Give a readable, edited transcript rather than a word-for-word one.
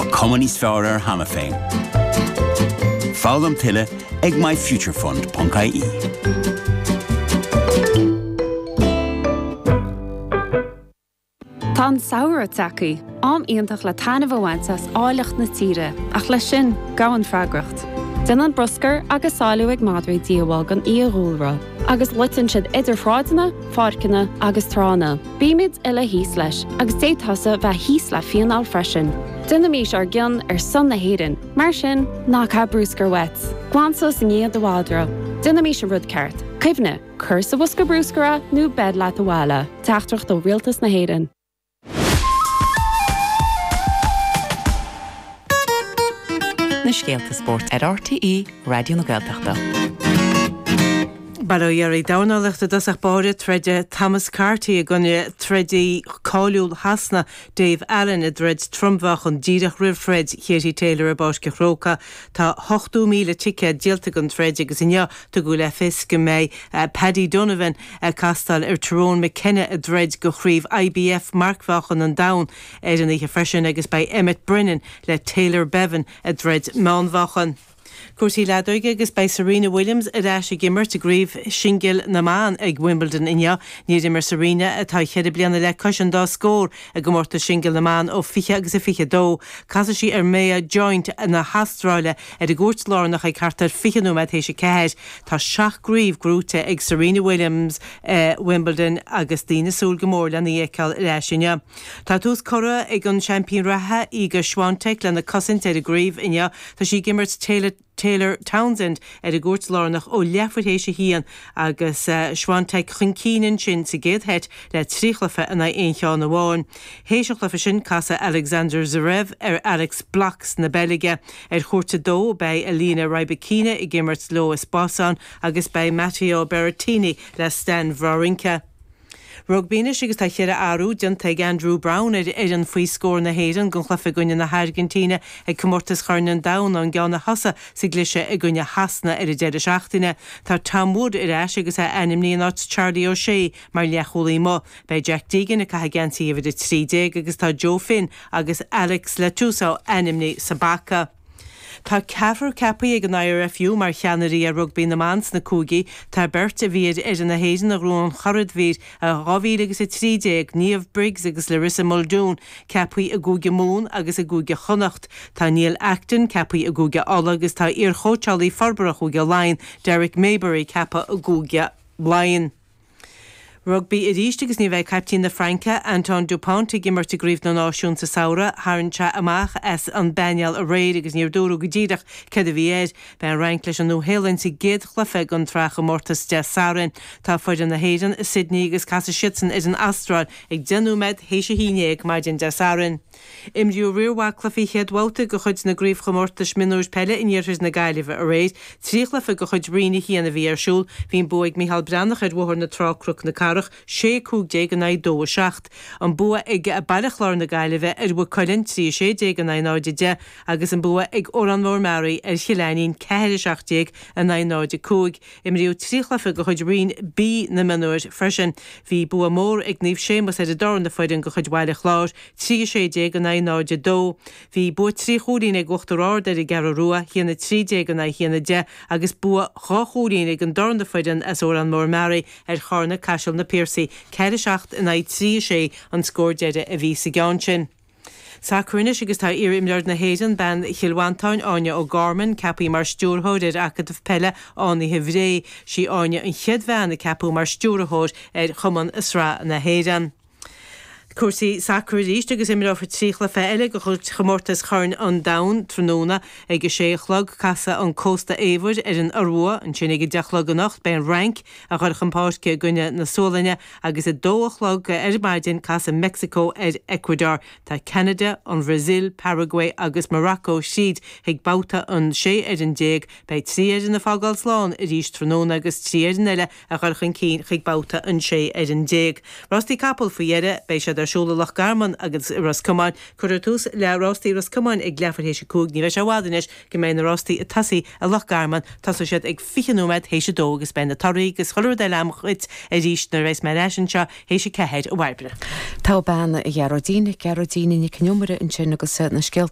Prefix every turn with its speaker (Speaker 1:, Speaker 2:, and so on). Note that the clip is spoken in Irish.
Speaker 1: Tá cuma níos fearr air cheana féin. Foghlaim tuilleadh ag myfuturefund.ie.
Speaker 2: Tá an samhradh tagtha, am iontach le taitneamh a bhaint as áilleacht na tíre, ach leis sin, gabhann freagracht. Déanann bruscar agus sáiliú ag madraí díobháil don fhiadhúlra, agus loiteann siad idir shráideanna, pháirceanna agus tránna. Bímid uile thíos leis, agus d'fhéadfadh tusa bheith thíos le fíneáil freisin. Déanaimís ár gcion ar son na hÉireann, mar sin, ná caith bruscar uait. Glan suas i ndiaidh do mhadra. Déanaimís an rud ceart. Cuimhnigh! Cuir sa bhosca bruscair é nó beir leat abhaile. Teachtaireacht ó Rialtas na hÉireann.
Speaker 3: Na scéalta spóirt ar RTÉ Raidió na Gaeltachta.
Speaker 4: Bail ó Dhia oraibh. Dornálaíocht i dtosach báire, Troidfidh Thomas Carty i gcoinne trodaí cáiliúil Shasana, Dave Allen, i dtroid trom-mheáchan díreach roimh throid Katie Taylor i bPáirc an Chrócaigh. Tá 80,000 ticéad díolta don troid agus inniu Tugadh le fios go mbeidh Paddy Donovan ag castáil ar Tyrone McKenna i dtroid do chraobh IBF marcmheáchan an domhain ar an oíche freisin agus beidh Emmet Brennan le Taylor Bevan i dtroid meánmheáchan. Cúrsaí leadóige agus beidh Serena Williams ar ais ag imirt i gcraobh singil na mban ag Wimbledon inniu. Níor imir Serena, atá cheithre bliana le cois an dá scór, i gcomórtas singil na mban ó 20 agus a 22. Casfaidh sí ar Maya Joint na hAstráile Ar an gcúirt lárnach ag thart ar 20 nóiméad théis 4, tá 7 gcraobh gnóite ag Serena Williams i Wimbledon agus daoine ag súil go mór lena í a fheiceáil ar ais inniu. Tá tús curtha ag an seaimpín reatha, Iga Swiatek, lena cosaint ar an gcraobh inniu. Tá sí ag imirt Taylor Townsend ar an gcúirt lárnach ó leathuair théis a haon agus Swiatek chun cinn ansin sa gcéad sheit le 3 chluiche in aghaidh aon cheann amháin. Théis an chluiche sin, casfaidh Alexander Zverev ar Alex Blockx na Beilge. Ar chúirt a dó, beidh Elena Rybakina ag imirt Lois Boisson agus beidh Matteo Berrettini le Stan Wawrinka. Rugbaí anois agus tá cheithre athrú déanta ag Andrew Browne ar fhoireann faoi scór na hÉireann don chluiche i gcoinne na hAirgintíne ag Comórtas Chorn an Domhain, an gceann a thosaigh sa gcliseadh i gcoinne Shasana ar an deireadh seachtaine. Tá Tom Wood ar ais agus é ainmnithe in áit Charlie O'Shea mar leathchúlaí amuigh. Beidh Jack Deegan ag caitheamh geansaí uimhir 13 agus tá Joe Finn agus Alex Letusau ainmnithe sa bpaca. Tá ceathrar ceaptha ag an IRFU mar cheannairí ar rugbaí na mban sna cúigí. Tá beirt a bhí ar fhoireann na hÉireann a ghnóthaigh an churadhmhír i 2013, Niamh Briggs agus Larissa Muldoon, ceaptha i gCúige Mumhan agus i gCúige Chonnacht. Tá Neil Acton ceaptha i gCúige Uladh agus tá iarchóitseálaí forbartha Chúige Laighean, Derek Mayberry ceaptha i gCúige Laighean. Rugbaí arís agus ní bheidh caiptín na Fraince, Antoine Dupont, ag imirt i gCraobh na Náisiún sa samhradh. Tharraing sé amach as an bpainéal aréir agus níor dúradh go díreach céard a bhí air. Beidh an Fhrainc leis an Nua-Shéalainn sa gcéad chluiche den tsraithchomórtas Dé Sathairn. Tá foireann na hÉireann i Sydney agus casfaidh siadsan ar an Astráil ag 10 nóiméad théis a haon dhéag maidin Dé Sathairn. Imríodh riar mhaith cluichí chéad bhabhta de chuid na gcraobhchomórtais mionúir peile in iarthar na Gaillimhe aréir. 3 chluiche de chuid Roinn 1 a bhí ar siúl. Bhí an bua ag Micheál Breathnach ar Bhóthar na Trá-Cnoc na Cathrach, 6 15 in aghaidh 2 7. An bua ag Baile Chláir na Gaillimhe ar Mhaigh Cuilinn, 3 16 in aghaidh 0 10 agus an bua ag Órán Mór Meáraí ar Chill Ainnín, 4 17 in aghaidh 0 5. Imríodh 3 chluiche de chuid Roinn B na mionúir freisin. Bhí bua mór ag Naomh Séamus ar an darna foireann de chuid Bhaile Chláir, 3 16 in aghaidh 0 2. Bhí bua 3 chúilín ag Uachtar Ard ar an gCeathrú Rua, 1 13 in aghaidh 1 10, agus bua 2 chúilín ag an darna foireann as Órán Mór Meáraí ar Charna Caiseal Na Piarsaigh, 4 7 in aghaidh 3 6 an scór deiridh a bhí sa gceann sin. Sacar anois agus tá iar-imreoir na hÉireann, bean Chill Mhantáin, Áine O'Gorman, ceaptha mar stiúrthóir ar Acadamh Peile Fhánaithe Bhré. Sí Áine an chéad bhean a ceapadh mar stiúrthóir ar chumann i Sraith na hÉireann. Cúrsaí sacair arís agus imreofar 3 chluiche eile de chuid chomórtas Chorn an Domhain tráthnóna. Ag a sé a chlog casfaidh an Cósta Eabhair ar an Iorua, ansin ag a deich a chlog anocht beidh an Fhrainc ag dul chun páirce i gcoinne na Sualainne agus a dó a chlog ar maidin casfaidh Meicsiceo ar Ecuador. Tá Ceanada, an Bhrasaíl, Paraguay agus Morocco tríd chuig babhta an 16 fhoireann. Beidh 3 fhoireann ag fágáil slán arís tráthnóna agus 3 fhoireann eile a dhul chun cinn chuig babhta an 16 fhoireann. Rástaí capall faoi dheireadh, beidh siad ar siúl i Loch Garman agus i Ros Comáin. Cuirfear tús le rástaí Ros Comáin ag leathuair théis a 5. Ní bheidh sé i bhfad anois go mbeidh na rástaí ag tosaí i Loch Garman. Tosóidh siad ag 20 nóiméad théis a 2 agus beidh na torthaí agus chuile rud eile agam dhuit arís nuair a bheas mé ar ais anseo théis a 4, a Bhairbre.
Speaker 3: Tá bean Ghearóidín, Gearóidín Nic an Iomaire ansin agus na scéalta.